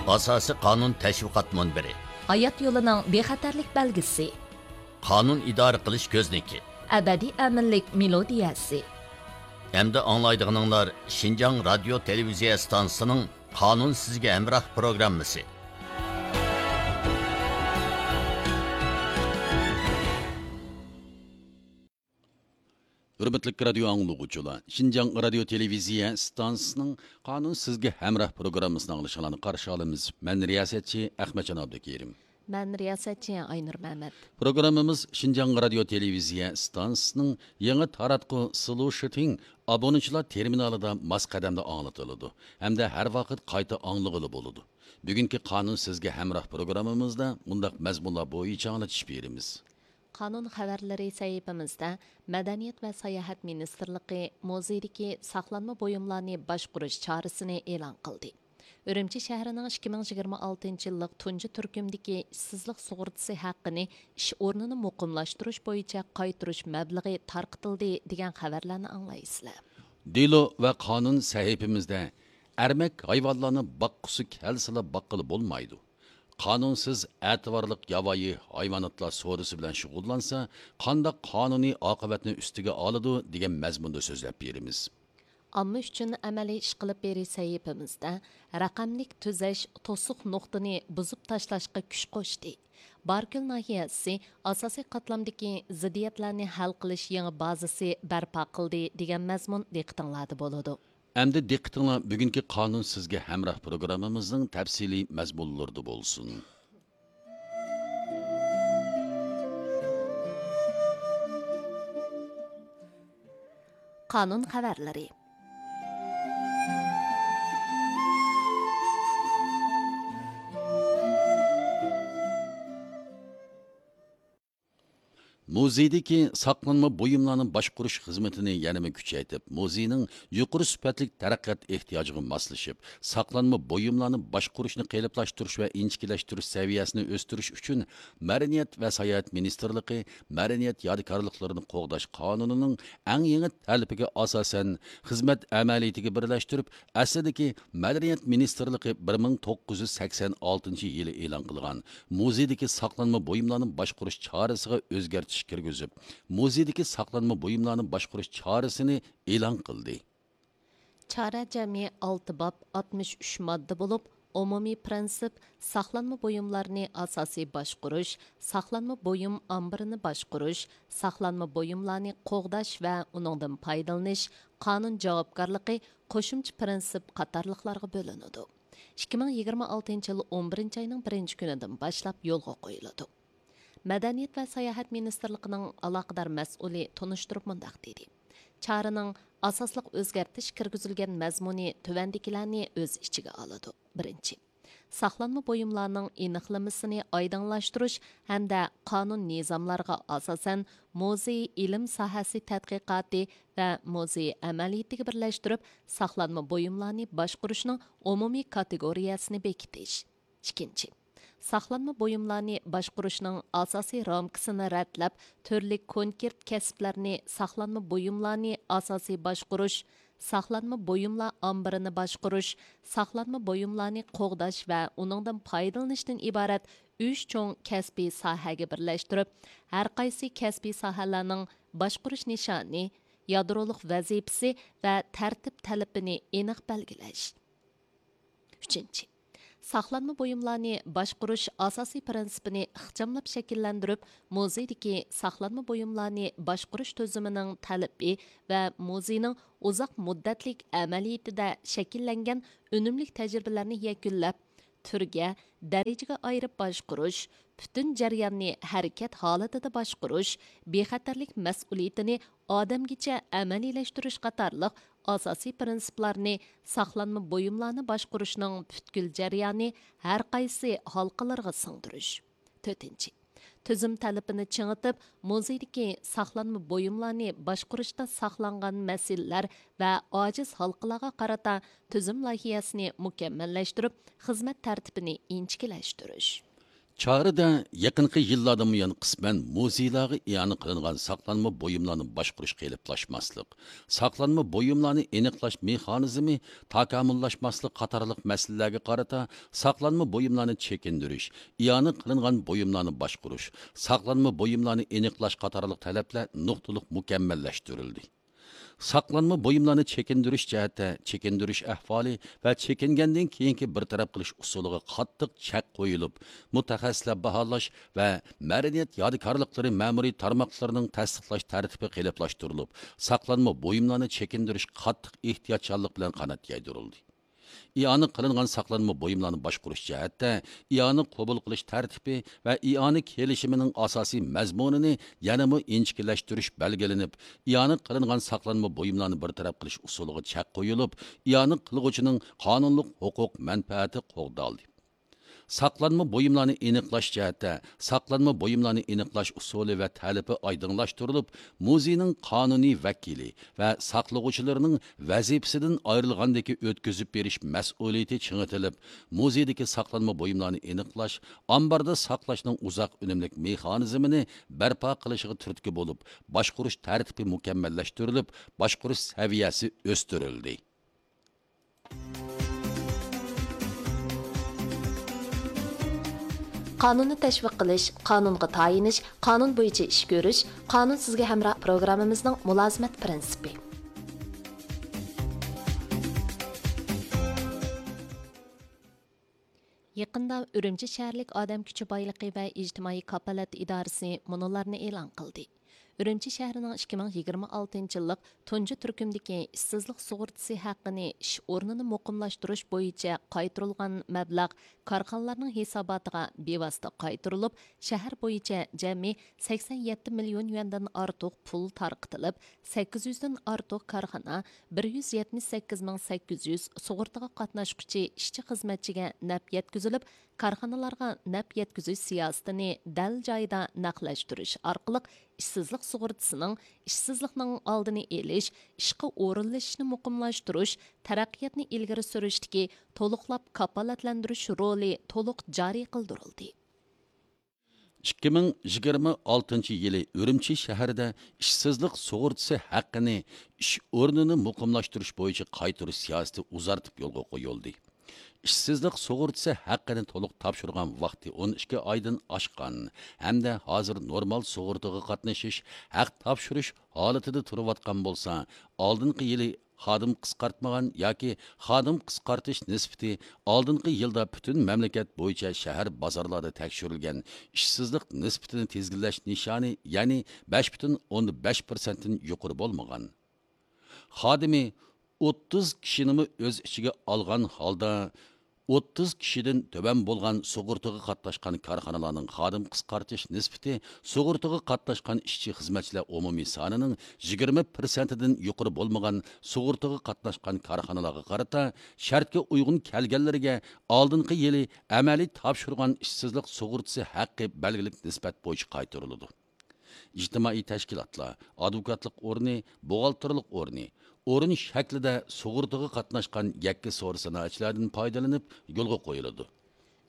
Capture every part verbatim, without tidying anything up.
ئاساسىي قانۇن تەشۋىقات مۇنبىرى. ھايات يولىنىڭ بىخەتەرلىك بەلگىسى. قانۇن ئىدارە قىلىش كۆزنىكى. ئەبەدىي ئەمىنلىك مېلودىيەسى. ئەمدى ئاڭلايدىغىنىڭلار شىنجاڭ رادىيو تېلېۋىزىيە ئىستانسىسىنىڭ قانۇن سىزگە ھەمراھ پروگراممىسى. ھۆرمەتلىك رادىيو ئاڭلىغۇچىلار، شىنجاڭ رادىيو تېلېۋىزىيە ئىستانسىسىنىڭ قانۇن سىزگە ھەمراھ پروگراممىسىنى ئاڭلىشىڭلارنى قارشى ئالىمىز. مەن رىياسەتچى ئەخمەتجان ئابدۇكېرىم. مەن رىياسەتچى ئاينۇر مەمەت. پروگراممىمىز شىنجاڭ رادىيو تېلېۋىزىيە ئىستانسىسىنىڭ يېڭى تاراتقۇ سلۇشىتىڭ ئابۇنىچىلار تېرمىنالىدا ماس قەدەمدە ئاڭلىتىلىدۇ ھەمدە ھەر ۋاقىت قايتا ئاڭلىغىلى بولىدۇ. بۈگۈنكى قانۇن سىزگە ھەمراھ پروگراممىمىزدا مۇنداق مەزمۇنلار بويىچە ئاڭلىتىش بېرىمىز. قانۇن خەۋەرلىرى سەھىپىمىزدە مەدەنىيەت ۋە ساياھەت مىنىستىرلىقى مۇزېيدىكى ساقلانما بۇيۇملارنى باشقۇرۇش چارىسىنى ئېلان قىلدى. ئۈرۈمچى شەھىرىنىڭ ئىككى مىڭ يىگىرمە ئالتىنچى يىللىق تۇنجى تۈركۈمدىكى ئىشسىزلىق سۇغۇرتىسى ھەققىنى ئىش ئورنىنى مۇقىملاشتۇرۇش بويىچە قايتۇرۇش مەبلىغى تارقىتىلدى، دېگەن خەۋەرلەرنى ئاڭلايسىلەر. دېلو ۋە قانۇن سەھىپىمىزدە ئەرمەك ھايۋانلارنى باققۇسى كەلسىلا باققىلى بولمايدۇ. قانۇنسىز ئەتىۋارلىق ياۋايى ھايۋاناتلار سودىسى بىلەن شۇغۇللانسا، قانداق قانۇنىي ئاقىۋەتنى ئۈستىگە ئالىدۇ، دېگەن مەزمۇندا سۆزلەپ بېرىمىز. ئامما ئۈچۈن ئەمەلىي ئىشقىلىپ بېرىش سەھىپىمىزدە رەقەملىك تۈزەش توسۇق نۇقتىنى بۇزۇپ تاشلاشقا كۈچ قوشتى. باركۆل ناھىيەسى ئاساسىي قاتلامدىكى زىددىيەتلەرنى ھەل قىلىش يېڭى بازىسى بەرپا قىلدى، دېگەن مەزمۇن دىققىتىڭلاردا بولىدۇ. ئەمدى دىققىتىڭلار بۈگۈنكى قانۇن سىزگە ھەمراھ پروگراممىمىزنىڭ تەپسىلىي مەزمۇنلىرىدا بولسۇن. قانۇن خەۋەرلىرى. مۇزېيدىكى ساقلانما بۇيۇملارنى باشقۇرۇش خىزمىتىنى يەنىمۇ كۈچەيتىپ، مۇزېينىڭ يۇقىرى سۈپەتلىك تەرەققىيات ئېھتىياجىغا ماسلىشىپ، ساقلانما بۇيۇملارنى باشقۇرۇشنى قېلىپلاشتۇرۇش ۋە ئىنچىكىلەشتۈرۈش سەۋىيەسىنى ئۆستۈرۈش ئۈچۈن، مەدەنىيەت ۋە ساياھەت مىنىستىرلىقى مەدەنىيەت يادىكارلىقلىرىنى قوغداش قانۇنىنىڭ ئەڭ يېڭى تەلىپىگە ئاساسەن، خىزمەت ئەمەلىيىتىگە بىرلەشتۈرۈپ، ئەسلىدىكى مەدەنىيەت مىنىستىرلىقى بىر مىڭ توققۇز يۈز سەكسەن ئالتىنچى يىلى ئېلان قىلغان مۇزېيدىكى ساقلانما بۇيۇملارنى باشقۇرۇش چارىسىغا ئۆزگەرتىش كىرگۈزۈپ، مۇزېيدىكى ساقلانما بۇيۇملارنى باشقۇرۇش چارىسىنى ئېلان قىلدى. چارە جەمئىي ئالتە باب، ئاتمىش ئۈچ ماددا بولۇپ، ئومۇمىي پىرىنسىپ، ساقلانما بۇيۇملارنى ئاساسىي باشقۇرۇش، ساقلانما بۇيۇم ئامبىرىنى باشقۇرۇش، ساقلانما بۇيۇملارنى قوغداش ۋە ئۇنىڭدىن پايدىلىنىش، قانۇن جاۋابكارلىقى، قوشۇمچە پىرىنسىپ قاتارلىقلارغا بۆلۈنىدۇ. ئىككى مىڭ يىگىرمە ئالتىنچى يىل ئون بىرىنچى ئاينىڭ بىرىنچى كۈنىدىن باشلاپ يولغا قويۇلىدۇ. مەدەنىيەت ۋە ساياھەت مىنىستىرلىقىنىڭ ئالاقىدار مەسئۇلى تونۇشتۇرۇپ مۇنداق دېدى: چارىنىڭ ئاساسلىق ئۆزگەرتىش كىرگۈزۈلگەن مەزمۇنى تۆۋەندىكىلەرنى ئۆز ئىچىگە ئالىدۇ. بىرىنچى، ساقلانما بۇيۇملارنىڭ ئېنىقلىمىسىنى ئايدىڭلاشتۇرۇش ھەمدە قانۇن نىزاملارغا ئاساسەن مۇزېي ئىلىم ساھەسى تەتقىقاتى ۋە مۇزېي ئەمەلىيىتىگە بىرلەشتۈرۈپ، ساقلانما بۇيۇملارنى باشقۇرۇشنىڭ ئومۇمىي كاتېگورىيەسىنى بېكىتىش. ئىككىنچى، ساقلانما بۇيۇملارنى باشقۇرۇشنىڭ ئاساسىي رامكىسىنى رەتلەپ، تۈرلۈك كونكرېت كەسىپلەرنى ساقلانما بۇيۇملارنى ئاساسىي باشقۇرۇش، ساقلانما بۇيۇملار ئامبىرىنى باشقۇرۇش، ساقلانما بۇيۇملارنى قوغداش ۋە ئۇنىڭدىن پايدىلىنىشتىن ئىبارەت ئۈچ چوڭ كەسپىي ساھەگە بىرلەشتۈرۈپ، ھەرقايسى كەسپىي ساھەلەرنىڭ باشقۇرۇش نىشانى، يادرولۇق ۋەزىپىسى ۋە تەرتىپ تەلىپىنى ئېنىق بەلگىلەش. ئۈچىنچى، ساقلانما بۇيۇملارنى باشقۇرۇش ئاساسىي پىرىنسىپىنى ئىخچاملاپ شەكىللەندۈرۈپ، مۇزېيدىكى ساقلانما بۇيۇملارنى باشقۇرۇش تۈزۈمىنىڭ تەلىپى ۋە مۇزېينىڭ ئۇزاق مۇددەتلىك ئەمەلىيىتىدە شەكىللەنگەن ئۈنۈملۈك تەجرىبىلەرنى يەكۈنلەپ، تۈرگە، دەرىجىگە ئايرىپ باشقۇرۇش، پۈتۈن جەرياننى ھەرىكەت ھالىتىدە باشقۇرۇش، بىخەتەرلىك مەسئۇلىيىتىنى ئادەمگىچە ئەمەلىيلەشتۈرۈش قاتارلىق ئاساسىي پىرىنسىپلارنى ساقلانما بۇيۇملارنى باشقۇرۇشنىڭ پۈتكۈل جەريانى ھەر قايسى ھالقىلىرىغا سىڭدۈرۈش. تۆتىنچى، تۈزۈم تەلىپىنى چىڭىتىپ، مۇزېيدىكى ساقلانما بۇيۇملارنى باشقۇرۇشتا ساقلانغان مەسىلىلەر ۋە ئاجىز ھالقىلارغا قارىتا تۈزۈم لايىھەسىنى مۇكەممەللەشتۈرۈپ، خىزمەت تەرتىپىنى ئىنچىكىلەشتۈرۈش. چارىدە يېقىنقى يىللاردىن بۇيان قىسمەن مۇزېيلارغا ئىئانە قىلىنغان ساقلانما بۇيۇملارنى باشقۇرۇش قېلىپلاشماسلىق، ساقلانما بۇيۇملارنى ئېنىقلاش مېخانىزمى تاكامۇللاشماسلىق قاتارلىق مەسىلىلەرگە قارىتا ساقلانما بۇيۇملارنى چېكىندۈرۈش، ئىئانە قىلىنغان بۇيۇملارنى باشقۇرۇش، ساقلانما بۇيۇملارنى ئېنىقلاش قاتارلىق تەلەپلەر نۇقتىلىق مۇكەممەللەشتۈرۈلدى. ساقلانما بۇيۇملارنى چېكىندۈرۈش جەھەتتە چېكىندۈرۈش ئەھۋالى ۋە چېكىنگەندىن كېيىنكى بىر تەرەپ قىلىش ئۇسۇلىغا قاتتىق چەك قويۇلۇپ، مۇتەخەسسىسلەر باھالاش ۋە مەدەنىيەت يادىكارلىقلىرى مەمۇرىي تارماقلىرىنىڭ تەستىقلاش تەرتىپى قېلىپلاشتۇرۇلۇپ، ساقلانما بۇيۇملارنى چېكىندۈرۈش قاتتىق ئېھتىياتچانلىق بىلەن قانات يايدۇرۇلدى. ئىئانە قىلىنغان ساقلانما بۇيۇملارنى باشقۇرۇش جەھەتتە ئىئانە قوبۇل قىلىش تەرتىپى ۋە ئىئانە كېلىشىمىنىڭ ئاساسىي مەزمۇنىنى يەنىمۇ ئىنچىكىلەشتۈرۈش بەلگىلىنىپ، ئىئانە قىلىنغان ساقلانما بۇيۇملارنى بىر تەرەپ قىلىش ئۇسۇلىغا چەك قويۇلۇپ، ئىئانە قىلغۇچىنىڭ قانۇنلۇق ھوقۇق مەنپەئەتى قوغدالدى. ساقلانما بۇيۇملارنى ئېنىقلاش جەھەتتە ساقلانما بۇيۇملارنى ئېنىقلاش ئۇسۇلى ۋە تەلىپى ئايدىڭلاشتۇرۇلۇپ، مۇزېينىڭ قانۇنىي ۋەكىلى ۋە ساقلىغۇچىلىرىنىڭ ۋەزىپىسىدىن ئايرىلغاندىكى ئۆتكۈزۈپ بېرىش مەسئۇلىيىتى چىڭىتىلىپ، مۇزېيدىكى ساقلانما بۇيۇملارنى ئېنىقلاش، ئامباردا ساقلاشنىڭ ئۇزاق ئۈنۈملۈك مېخانىزمىنى بەرپا قىلىشىغا تۈرتكە بولۇپ، باشقۇرۇش تەرتىپى مۇكەممەللەشتۈرۈلۈپ، باشقۇرۇش سەۋىيەسى ئۆستۈرۈلدى. قانۇننى تەشۋىق قىلىش، قانۇنغا تايىنىش، قانۇن بويىچە ئىش كۆرۈش، قانۇن سىزگە ھەمراھ پروگراممىمىزنىڭ مۇلازىمەت پىرىنسىپى. يېقىندا ئۈرۈمچى شەھەرلىك ئادەم كۈچى بايلىقى ۋە ئىجتىمائىي كاپالەت ئىدارىسى مۇنۇلارنى ئېلان قىلدى. ئۈرۈمچى شەھىرىنىڭ ئىككى مىڭ يىگىرمە ئالتىنچى يىللىق تۇنجى تۈركۈمدىكى ئىشسىزلىق سۇغۇرتىسى ھەققىنى ئىش ئورنىنى مۇقىملاشتۇرۇش بويىچە قايتۇرۇلغان مەبلەغ كارخانىلارنىڭ ھېساباتىغا بىۋاسىتە قايتۇرۇلۇپ، شەھەر بويىچە جەمئىي سەكسەن يەتتە مىليون يۈەندىن ئارتۇق پۇل تارقىتىلىپ، سەككىز يۈزدىن ئارتۇق كارخانا، بىر يۈز يەتمىش سەككىز مىڭ سەككىز يۈز سۇغۇرتىغا قاتناشقۇچى ئىشچى-خىزمەتچىگە نەپ يەتكۈزۈلۈپ، كارخانىلارغا نەپ يەتكۈزۈش سىياسىتىنى دەل جايىدا نەقلەشتۈرۈش ئارقىلىق ئىشسىزلىق سۇغۇرتىسىنىڭ ئىشسىزلىقنىڭ ئالدىنى ئېلىش، ئىشقا ئورۇنلىشىشنى مۇقىملاشتۇرۇش، تەرەققىياتنى ئىلگىرى سۈرۈشتىكى تولۇقلاپ كاپالەتلەندۈرۈش رولى تولۇق جارى قىلدۇرۇلدى. ئىككى مىڭ يىگىرمە ئالتىنچى يىلى ئۈرۈمچى شەھىرىدە ئىشسىزلىق سۇغۇرتىسى ھەققىنى ئىش ئورنىنى مۇقىملاشتۇرۇش بويىچە قايتۇرۇش سىياسىتى ئۇزارتىپ يولغا قويۇلدى. ئىشسىزلىق سۇغۇرتىسى ھەققىنى تولۇق تاپشۇرغان ۋاقتى ئون ئىككى ئايدىن ئاشقان ھەمدە ھازىر نورمال سۇغۇرتىغا قاتنىشىش، ھەق تاپشۇرۇش ھالىتىدە تۇرۇۋاتقان بولسا، ئالدىنقى يىلى خادىم قىسقارتمىغان ياكى خادىم قىسقارتىش نىسبىتى ئالدىنقى يىلدا پۈتۈن مەملىكەت بويىچە شەھەر بازارلاردا تەكشۈرۈلگەن ئىشسىزلىق نىسبىتىنى تىزگىنلەش نىشانى، يەنى بەش پۈتۈن ئوندىن بەش پىرسەنتتىن يۇقىرى بولمىغان. خادىمى ئوتتۇز كىشىنىمۇ ئۆز ئىچىگە ئالغان ھالدا، ئوتتۇز كىشىدىن تۆۋەن بولغان سۇغۇرتىغا قاتناشقان كارخانىلارنىڭ خادىم قىسقارتىش نىسبىتى سۇغۇرتىغا قاتناشقان ئىشچى-خىزمەتچىلەر ئومۇمىي سانىنىڭ يىگىرمە پىرسەنتىدىن يۇقىرى بولمىغان سۇغۇرتىغا قاتناشقان كارخانىلارغا قارىتا، شەرتكە ئۇيغۇن كەلگەنلىرىگە ئالدىنقى يىلى ئەمەلىي تاپشۇرغان ئىشسىزلىق سۇغۇرتىسى ھەققى بەلگىلىك نىسبەت بويىچە قايتۇرۇلىدۇ. ئىجتىمائىي تەشكىلاتلار، ئادۋوكاتلىق ئورنى، بوغالتىرلىق ئورنى، ئورۇن شەكلىدە سۇغۇرتىغا قاتناشقان يەككە سودا سانائەتچىلەردىن پايدىلىنىپ يولغا قويۇلىدۇ.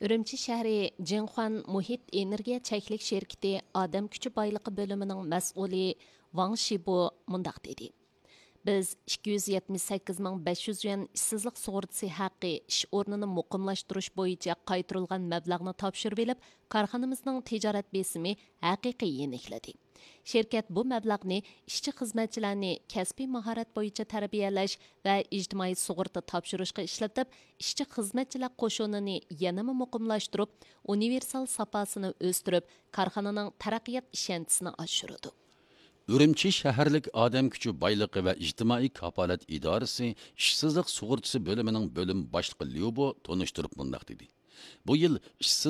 ئۈرۈمچى شەھىرى جىڭخۇەن مۇھىت ئېنېرگىيە چەكلىك شىركىتى ئادەم كۈچى بايلىقى بۆلۈمىنىڭ مەسئۇلى ۋاڭ شىبۇ مۇنداق دېدى: بىز ئىككى يۈز يەتمىش سەككىز مىڭ بەش يۈز يۈەن ئىشسىزلىق سۇغۇرتىسى ھەققى ئىش ئورنىنى مۇقىملاشتۇرۇش بويىچە قايتۇرۇلغان مەبلەغنى تاپشۇرۇۋېلىپ، كارخانىمىزنىڭ تىجارەت بېسىمى ھەقىقىي يېنىكلىدى. شىركەت بۇ مەبلەغنى ئىشچى-خىزمەتچىلەرنى كەسپىي ماھارەت بويىچە تەربىيەلەش ۋە ئىجتىمائىي سۇغۇرتا تاپشۇرۇشقا ئىشلىتىپ، ئىشچى-خىزمەتچىلەر قوشۇنىنى يەنىمۇ مۇقىملاشتۇرۇپ، ئۇنىۋېرسال ساپاسىنى ئۆستۈرۈپ، كارخانىنىڭ تەرەققىيات ئىشەنچىسىنى ئاشۇرىدۇ. ئۈرۈمچى شەھەرلىك ئادەم كۈچى بايلىقى ۋە ئىجتىمائىي كاپالەت ئىدارىسى ئىشسىزلىق سۇغۇرتىسى بۆلۈمىنىڭ بۆلۈم باشلىقى ليۇ بو تونۇشتۇرۇپ مۇنداق دېدى: بۇ يىل ئىشسىز